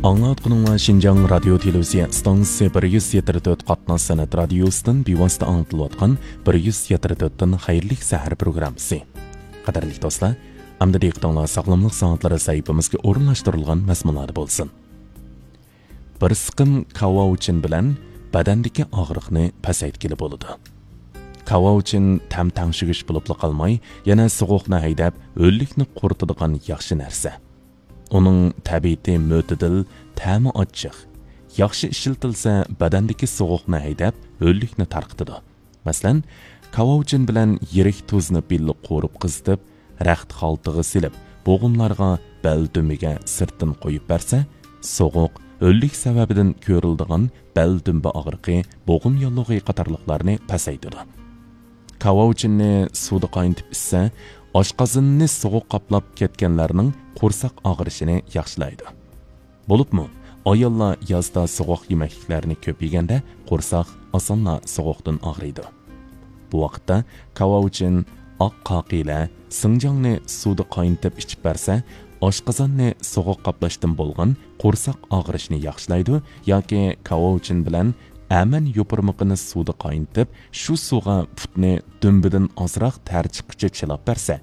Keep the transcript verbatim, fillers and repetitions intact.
ئاڭلاۋاتقىنىڭلار شىنجاڭ رادىيو تېلېۋىزىيە ئىستانسىسى بىر يۈز يەتتە تۆت قاتناش سەنئەت رادىيوسىدىن بىۋاسىتە ئاڭلىتىلىۋاتقان بىر يۈز يەتتە تۆتتىن خەيرلىك سەھەر پروگراممىسى. قەدىرلىك دوستلار، ئەمدى دىققىتىڭلار ساغلاملىق سائەتلىرى سەھىپىمىزگە ئورۇنلاشتۇرۇلغان مەزمۇنلاردا بولسۇن. بىر سىقىم كاۋاۋچىن بىلەن بەدەندىكى ئاغرىقنى پەسەيتكىلى بولىدۇ. كاۋاۋچىن تەم تەڭشىگۈچ بولۇپلا قالماي، يەنە سوغۇقنى ھەيدەپ، ھۆللۈكنى قۇرۇتىدىغان ياخشى نەرسە. ئۇنىڭ تەبىئىتى مۆتىدىل، تەمى ئاچچىق. ياخشى ئىشلىتىلسە، بەدەندىكى سوغۇقنى ھەيدەپ، ھۆللۈكنى تارقىتىدۇ. مەسىلەن، كاۋاۋچىن بىلەن يىرىك تۇزنى بىللە قورۇپ قىزىتىپ، رەخت خالتىغا سېلىپ، بوغۇملارغا، بەل دۈمبىگە سىرتتىن قويۇپ بەرسە، سوغۇق، ھۆللۈك سەۋەبىدىن كۆرۈلىدىغان بەل دۈمبە ئاغرىقى، بوغۇم ياللۇغى قاتارلىقلارنى پەسەيتىدۇ. كاۋاۋچىننى سۇدا قاينىتىپ ئىچسە، ئاشقازىنىنى سوغۇق قاپلاپ كەتكەنلەرنىڭ قورساق ئاغرىشىنى ياخشىلايدۇ. بولۇپمۇ، ئاياللار يازدا سوغۇق يېمەكلىكلەرنى كۆپ يېگەندە، قورساق ئاسانلا سوغۇقتىن ئاغرىيدۇ. بۇ ۋاقىتتا كاۋاۋچىن، ئاق قاقىلە، سىڭجاڭنى سۇدا قاينىتىپ ئىچىپ بەرسە، ئاشقازاننى سوغۇق قاپلاشتىن بولغان قورساق ئاغرىشنى ياخشىلايدۇ ياكى كاۋاۋچىن بىلەن ئەمەن يوپۇرمىقىنى سۇدا قاينىتىپ، شۇ سۇغا پۇتنى دۈمبىدىن ئازراق تەر چىققۇچە چىلاپ بەرسە،